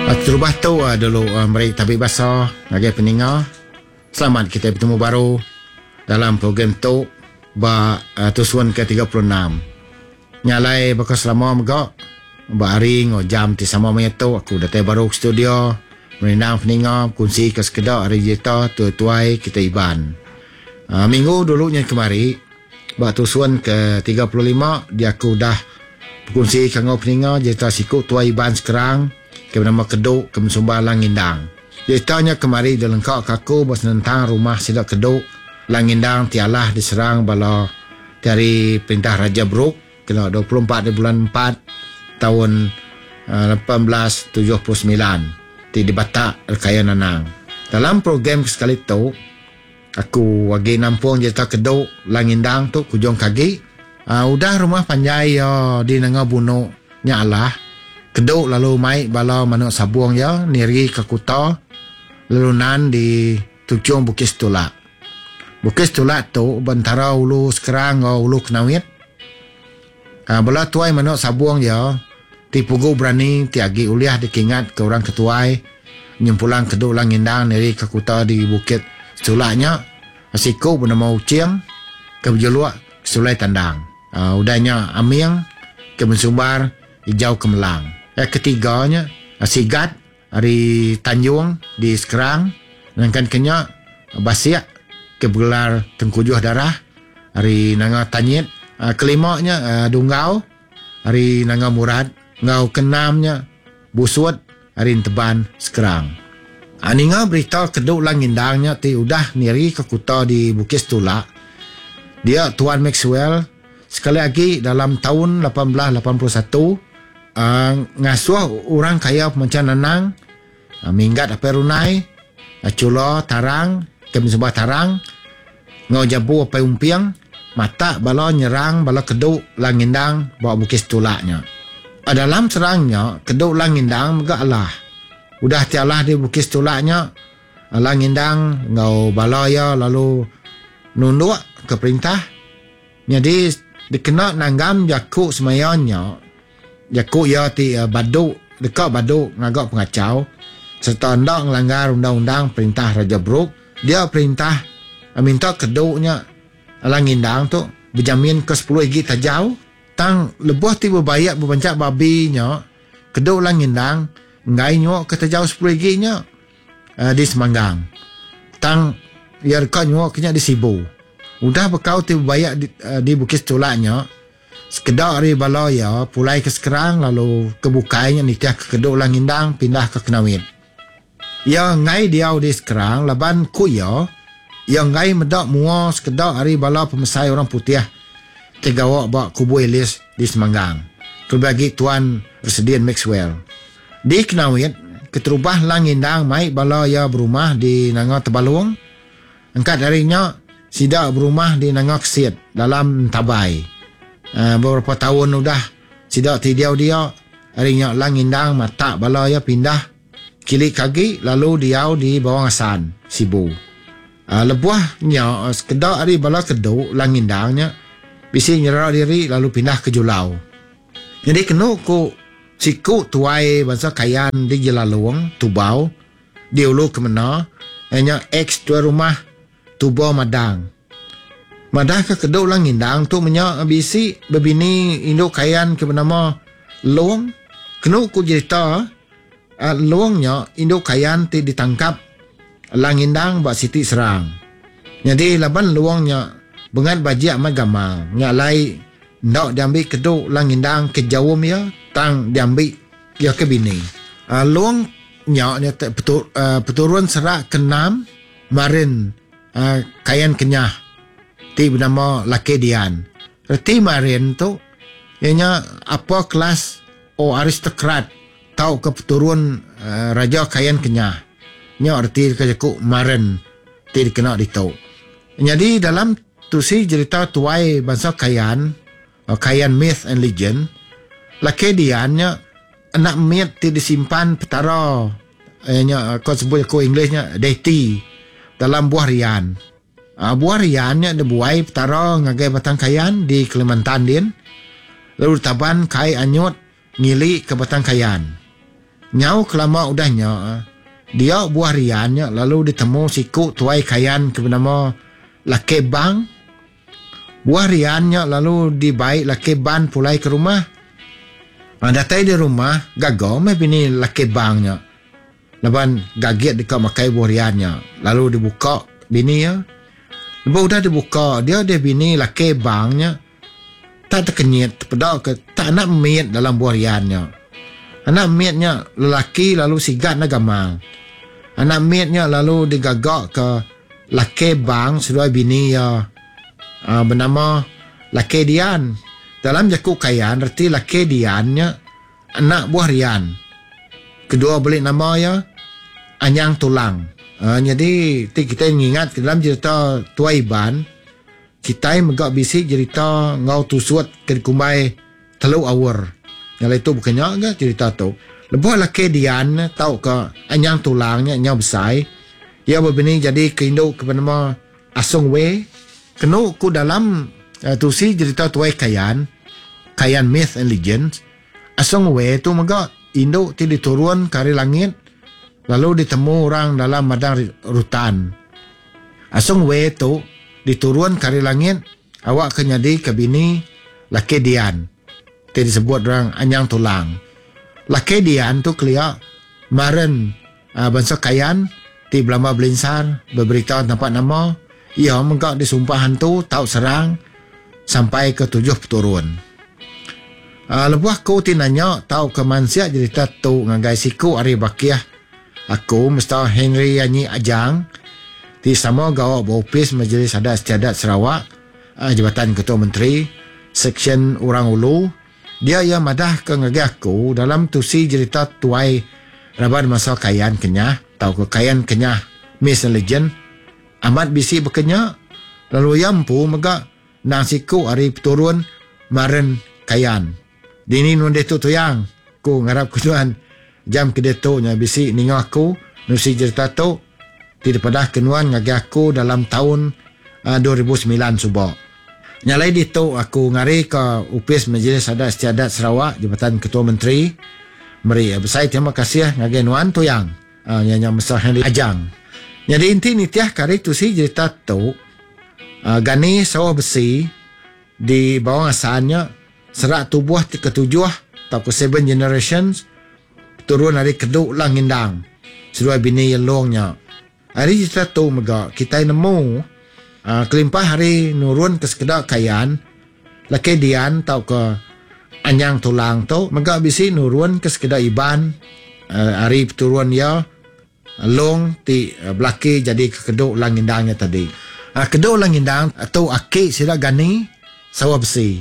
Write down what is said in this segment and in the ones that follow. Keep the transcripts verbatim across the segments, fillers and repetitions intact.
Terubah tu dulu meri tabi basa ngagai peninga. Selamat kita betemu baru dalam program tu ba tusun ke tiga puluh enam. Nya alai baka selama mega ba hari enggau jam ti sama maya tu aku datai baru ke studio merindang peninga bekunsi ke sekeda ari jerita tuai-tuai kita Iban. Minggu dulu nya kemari ba tusun ke tiga puluh lima dia aku dah bekunsi ke enggau peninga jerita siku tuai Iban sekarang ke bernama Kedu ke Mesumba Lang Ngindang. Jerita nya kemari dilengkak ke aku ba senentang rumah sida Kedu Lang Ngindang ti alah diserang bala ti ari perintah Raja Brooke kena dua puluh empat di bulan empat tahun lapan belas tujuh puluh semilan ti dibatak Rekaya Nanang. Dalam program sekali tu aku agi nampung jerita Kedu Lang Ngindang tu kujung kagi. Uh, udah rumah panjai ya di Nanga Bunuk nya alah Kedu lalu mai bala manuk sabung ya niri ke kuta lalu nan di tuchung Bukit Setulak. Bukit Setulak tu bentara ulu Sekerang enggau ulu Kenawit. Uh, bala tuai manuk sabung ya ti pugu berani ti agi uliah dikingat ke orang ketuai nyempulang Kedu Lang Ngindang niri ke kuta di Bukit Setulak nya siku bernama Ucing ke berjuluk Sulai Tandang. Uh, udahnya Aming ke bersumbar Hijau Kemelang. Yang ketiganya Sigat ari Tanjung di Sekerang. Sedangkan kenya Basiak ke bergelar Tengkujuh Darah ari Nanga Tanyit. Kelimanya Dunggau ari Nanga Murad. Ngau keenamnya Busut ari Enteban Sekerang. Ninga berita Kedu Lang Ngindang nya ti udah niri ke kuta di Bukit Setulak. Dia Tuan Maxwell sekali lagi dalam tahun lapan belas lapan puluh satu uh, ngasuh orang kaya pemancan Nanang uh, minggat apai runai uh, cula tarang ke sebuah tarang ngau jabu apai umpiang mata bala nyerang bala Kedu Lang Ngindang bawa Bukit Setulaknya. Uh, dalam serangnya Kedu Lang Ngindang mega alah. Udah ti alah di Bukit Setulaknya Lang Ngindang ngau bala ya lalu nunduk ke perintah. Jadi dikena nanggam jaku semayanya jaku ya ti uh, badu deka badu ngagak pengacau serta hendak ngelanggar undang-undang perintah Raja Brooke. Dia perintah uh, minta Kedunya Lang Ngindang tu berjamin ke sepuluh igi tajau tang lebuh ti berbayak berbancak babi nya Kedu Lang Ngindang ngai nyuak ke tajau sepuluh igi nya uh, di Semanggang tang ia deka nyuak ke nya di Sibu. Udah bekau ti berbayak di, uh, di Bukit Setulaknya sekedar ari bala ya pulai ke Sekerang lalu ke bukainya nitih ke Kedu Lang Ngindang pindah ke Kenawit. Ya ngai diau di Sekerang laban ku ya ya ngai medak mua sekedar ari bala pemesai orang putih ti gawa ba kubu Elis di Semanggang. Kelebih agi Tuan Residen Maxwell. Di Kenawit keterubah Lang Ngindang mai bala ya berumah di Nanga Tebalung. Engkat darinya sida berumah di Nanga Kesit dalam Tabai. Uh, beberapa tahun udah sida ti diau dia arinya Lang Ngindang matak bala ya pindah kili kagi lalu diau di Bawang Asan Sibu. Uh, lebuh nya sekedak ari bala Kedu Lang Ngindang nya bisi nyerah diri lalu pindah ke Julau. Jadi kenu ku siku tuai bangsa Kayan di Jelalung Tubau di Ulu Kemena nya ex tuai rumah Tubo Madang. Madah ke Kedu Lang Ngindang tu menya bisi bebini induk Kayan ke bernama Long. Kenu ku cerita uh, Long nya induk Kayan ti ditangkap Lang Ngindang ba Siti Serang. Jadi laban Long nya bengat bajik amat gamal. Nya lai ndak diambil Kedu Lang Ngindang ke jauh ya tang diambil ya ke bini. Uh, Long nya nya petur, uh, peturun serak kenam Marin uh, Kayan Kenyah ti bernama Laki Dian. Reti Marin tu ianya apa kelas o aristokrat tau ke peturun uh, Raja Kayan Kenyah. Nya reti ke jaku Marin ti dikena ditu. Jadi dalam tusi cerita tuai bangsa Kayan, uh, Kayan Myth and Legend, Laki Dian nya anak mit ti disimpan petara ianya kau sebut aku Englishnya deity dalam buah rian. Uh, buah rian nya dibuai petara ngagai Batang Kayan di Kalimantan din. Lalu taban kai anyut ngili ke Batang Kayan. Nyau kelama udah nya, dia buah rian nya lalu ditemu siku tuai Kayan ke benama Lake Bang. Buah rian nya lalu dibai Lake Ban pulai ke rumah. Datai di rumah, gaga meh bini Lake Bang nya. Laban gagit deka makai buah rian nya. Lalu dibuka bini iya. Lebuh udah dibuka, dia deh bini Lake Bang nya tak tekenyit tepeda ke tak anak mit dalam buah rian nya. Anak mit nya lelaki lalu sigat na gamal. Anak mit nya lalu digaga ke Lake Bang seduai bini iya uh, bernama Lake Dian. Dalam jaku Kayan reti Lake Dian nya anak buah rian. Kedua beli nama iya Anyang Tulang. Uh, jadi ti kita ngingat ke dalam cerita Tuai Iban, kita mega bisi cerita ngau tusut ke dikumbai Teluk Awur. Yang itu bukannya ke cerita tu. Lebuh Lake Dian tau ke Anyang Tulang nya nyau besai, ia berbini jadi ke induk ke bernama Asung We. Kenu ku dalam uh, tusi cerita Tuai Kayan, Kayan Myth and Legends, Asung We tu mega induk ti diturun ke ari langit lalu ditemu orang dalam madang rutan. Asung We tu diturun ke ari langit awak ke nyadi ke bini Lake Dian ti disebut orang Anyang Tulang. Lake Dian tu kelia maren uh, bangsa Kayan ti belama belinsar berberita tanpa nama. Ia mega disumpah hantu tau serang sampai ke tujuh peturun. Uh, lebuh aku ti nanya tau ke mansia cerita tu ngagai siku ari bakiah aku Mister Henry Anyi Ajang ti sama gawa ba opis Majlis Adat Istiadat Sarawak, uh, Jabatan Ketua Menteri, Seksyen Orang Ulu. Dia ia madah ke ngagai aku dalam tusi cerita tuai raban masa Kayan Kenyah tau ke Kayan Kenyah Myth and Legend amat bisi berkenya lalu ia empu mega nang siku ari peturun Maren Kayan. Dini nun ditu tuyang ku ngarap ku tuan jam ke ditu nya bisi ninga aku nusi cerita tu ti dipadah ke nuan ngagai aku dalam tahun uh, dua ribu sembilan suba. Nyalai ditu aku ngari ke Opis Majlis Adat Istiadat Sarawak Jabatan Ketua Menteri meri besai terima kasih ngagai nuan tuyang uh, nya nya Mister Henry Ajang. Jadi inti nitiah kari tusi cerita tu uh, Gani Sawah Besi di bawah asalnya serak tubuh ti ketujuh atau ke seven generations turun dari Keduk Lang Ngindang seduai bini Yelongnya. Hari cerita tu mega kita nemu uh, kelimpah hari nurun ke sekedak Kayan Lake Dian tau ke Anyang Tulang tu mega bisi nurun ke sekedak Iban uh, hari peturun ya Long ti uh, belaki jadi ke Keduk Lang Ngindangnya tadi. Uh, Keduk Lang Ngindang tu aki sida Gani Sawah Besi.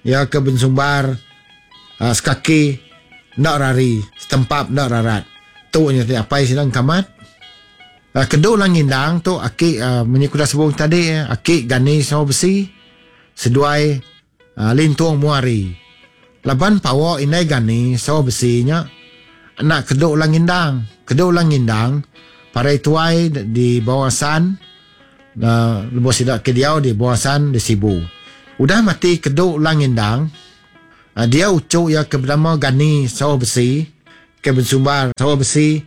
Ya ke bensumbar uh, sekaki nak rari setempap nak rarat. Tu nya ti apai sida kamat. Uh, Keduk Lang Ngindang tu aki uh, menyekuda sebung tadi aki Gani Sawah Besi seduai uh, Lintung Muari. Laban pawa indai Gani Sawah Besi nya anak Keduk Lang Ngindang. Keduk Lang Ngindang parai tuai di bawah san uh, lebuh sida ke diau di bawah san di Sibu. Udah mati Keduk Lang Ngindang, uh, dia ucuk ia ke bernama Gani Sawah Besi ke bersumbar Sawah Besi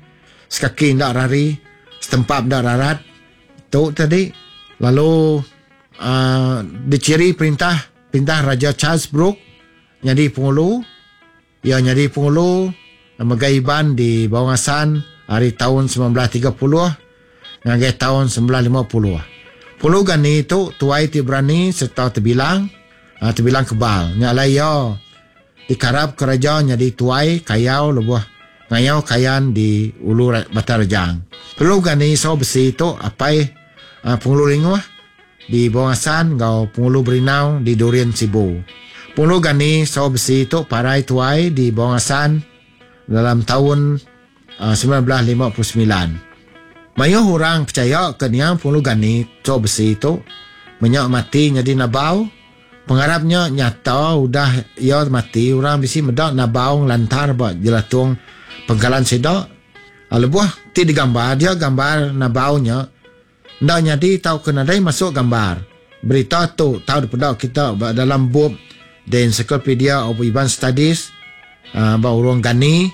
sekaki ndak rari setempap ndak rarat tu tadi lalu uh, diciri perintah perintah Raja Charles Brooke jadi pengulu. Ia jadi pengulu megai Iban di Bawang Asan hari tahun sembilan belas tiga puluh hingga tahun sembilan belas lima puluh. Pulu Gani tu tuai ti berani serta terbilang uh, terbilang kebal. Nya alai ia dikarap kerajaan jadi tuai kayau lebuh ngayau kayan di Ulu Batang Rejang. Pulu Gani Sawah Besi tu apai uh, Pengulu Linguh di Bawang Asan ngau Pengulu Berinau di Durian Sibu. Pengulu Gani Sawah Besi tu parai tuai di Bawang Asan dalam tahun uh, sembilan belas lima puluh sembilan. Mayuh orang percaya ke niang Pengulu Gani Sawah Besi tu menyak mati jadi nabau. Pengarapnya nyata udah ia mati orang bisi medak nabau lantar ba jelatung pengkalan sedak. Lebuh ti digambar dia gambar nabaunya ndak nyadi tau ke nadai masuk gambar. Berita tu tau dipedak kita dalam bup The Encyclopedia of Iban Studies uh, ba urang Gani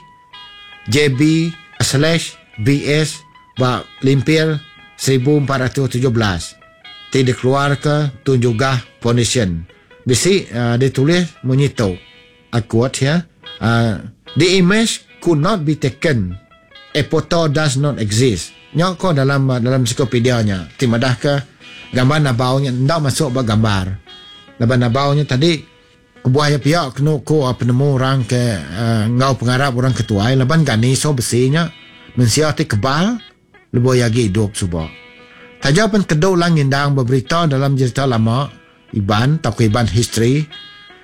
J B slash B S ba limpir seribu empat ratus tujuh belas ti dikeluarka Tun Jugah Foundation. Bisi uh, ditulis munyi tu. I quote here, uh, the image could not be taken. A photo does not exist. Nya ko dalam dalam ensiklopedia nya ti madah ke gambar nabau nya enda masuk ba gambar. Laban nabau nya tadi kebuah ya pia kenu ko penemu orang ke uh, ngau pengarap orang ketuai laban gani so besi nya mensia ti kebal lebuh agi hidup suba. Taja pen Kedu Lang Ngindang berberita dalam cerita lama Iban tauka Iban history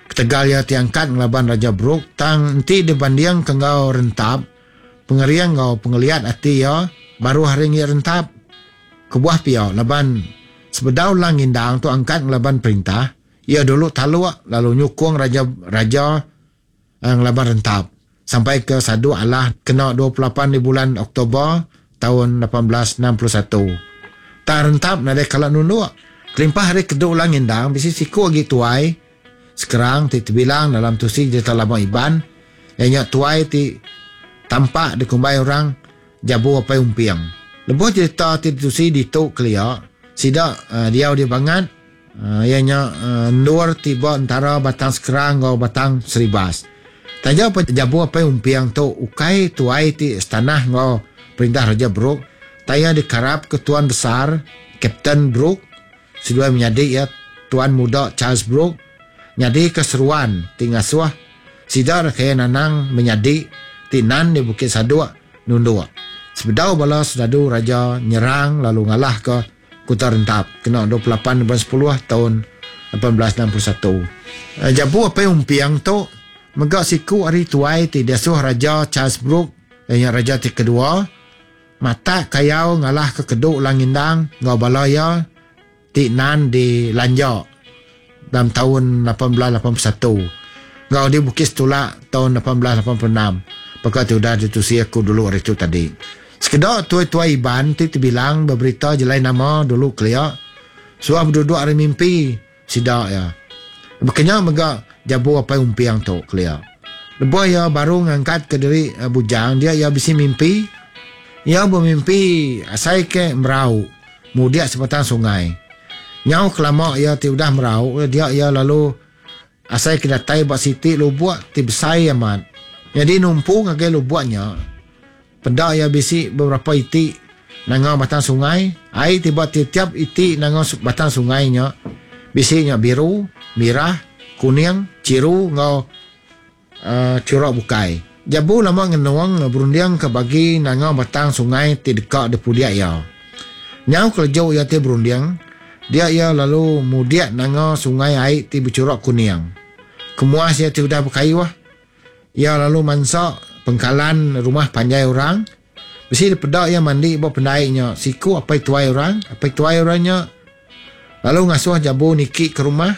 ketegal ia ti angkat ngelaban Raja Brooke tang enti dibanding ke enggau Rentap pengeriang enggau pengeliat ati ia baru hari ngi Rentap. Kebuah pia laban sebedau Lang Ngindang tu angkat ngelaban perintah ia dulu taluk lalu nyukung raja raja eh, ngelaban Rentap sampai ke Sadu Allah kena dua puluh lapan di bulan Oktober tahun lapan belas enam puluh satu. Tak Rentap nadai kala nunduk. Kelimpah hari Kedu Lang Ngindang bisi siku agi tuai sekarang ti terbilang dalam tusi cerita lama Iban ianya tuai ti tampak dikumbai orang Jabu Apai Umping. Lebuh cerita ti ditusi ditu kelia sida uh, diau di bangat uh, ianya uh, endur tiba antara Batang Sekerang enggau Batang Seribas. Taja Jabu Apai Umping tu ukai tuai ti setanah enggau perintah Raja Brooke, taya dikarap ke Tuan Besar Kapten Brooke seduai menyadi ya Tuan Muda Charles Brooke nyadi keseruan ti ngasuh sida kaya nanang menyadi ti nan di Bukit Saduk nunduk. Sebedau bala sedadu raja nyerang lalu ngalah ke Kota Rentap kena dua puluh lapan bulan sepuluh tahun lapan belas enam puluh satu. Jabu Apai Umping tu mega siku ari tuai ti diasuh Raja Charles Brooke ianya raja ti kedua matak kayau ngalah ke Kedu Lang Ngindang enggau bala ia ti nan di Lanja dalam tahun lapan belas lapan puluh satu enggau di Bukit Setulak tahun lapan belas lapan puluh enam. Perkara ti udah ditusi aku dulu hari tu tadi. Sekedar tuai-tuai Iban ti terbilang berberita jelai nama dulu kelia suah berduduk hari mimpi sida ya. Bekenya mega Jabu Apai Umping tu kelia. Lebuh ia baru ngangkat ke diri bujang dia ia bisi mimpi. Ia bermimpi asai ke merau mudik sebatang sungai. Nyau kelama ia ti udah merau dia ia lalu asai ke datai ba siti lubuk ti besai amat. Jadi numpu ngagai lubuknya peda ia bisi beberapa iti nanga batang sungai. Ai tiba tiap-tiap iti nanga batang sungainya bisi nya biru, merah, kuning, ciru ngau uh, curak bukai. Jabu lama ngenuang berunding ke bagi nanga batang sungai ti dekat depudiak ia. Nyau kelejo ia ti berunding, dia ia lalu mudiak nanga sungai ai ti bercurak kuning. Kemuas ia ti udah berkayuh, ia lalu mansak pengkalan rumah panjai orang. Besi dipedak ia mandi ba pendaiknya siku apai tuai orang, apai tuai orangnya lalu ngasuh Jabu niki ke rumah.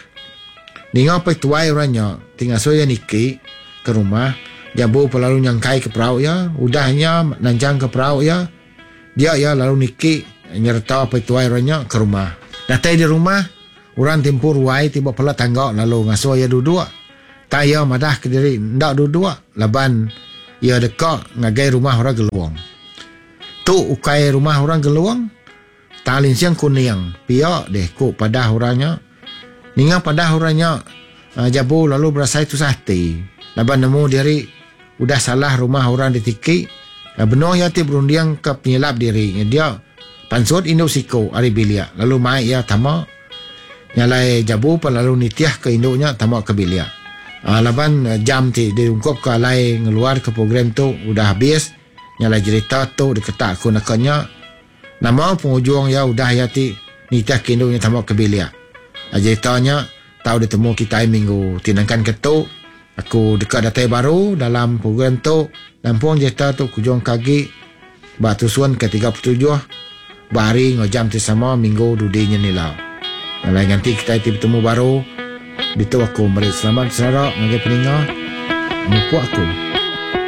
Ninga apai tuai orangnya ti ngasuh ia niki ke rumah, Jabu pun lalu nyangkai ke perau ia, udahnya nanjang ke perau ia, dia ia lalu niki nyerta apai tuai orangnya ke rumah. Datai di rumah, orang tempur ruai tiba pala tangga lalu ngasuh ia duduk. Tak ia madah ke diri ndak duduk laban ia dekat ngagai rumah orang geluang. Tu ukai rumah orang geluang, talin siang kuning. Pia deh ku padah orangnya. Ninga padah orangnya Jabu lalu berasai tusah hati. Laban nemu diri udah salah rumah orang ditiki. Benar ia ti berunding ke penyelap diri. Dia pansut induk siku ari bilik. Lalu mai ia tama. Nyalai Jabu pun lalu nitiah ke induknya tama ke bilik. Uh, laban jam ti diungkup ke alai ngeluar ke program tu udah habis. Nyalai cerita tu diketak aku nakanya. Nama penghujung ya udah ya ti nitiah ke induknya tama ke bilik. Uh, ceritanya tau ditemu kita minggu tinangkan ketuk. Aku dekat datai baru dalam program tu. Nampung cerita tu kujung kagi ba tusuan ke tiga puluh tujuh bahari ngau jam ti sama minggu dudinya nila. Nalai nganti kita ti bertemu baru. Ditu aku meri selamat selarak ngagai peninga. Mupuk aku.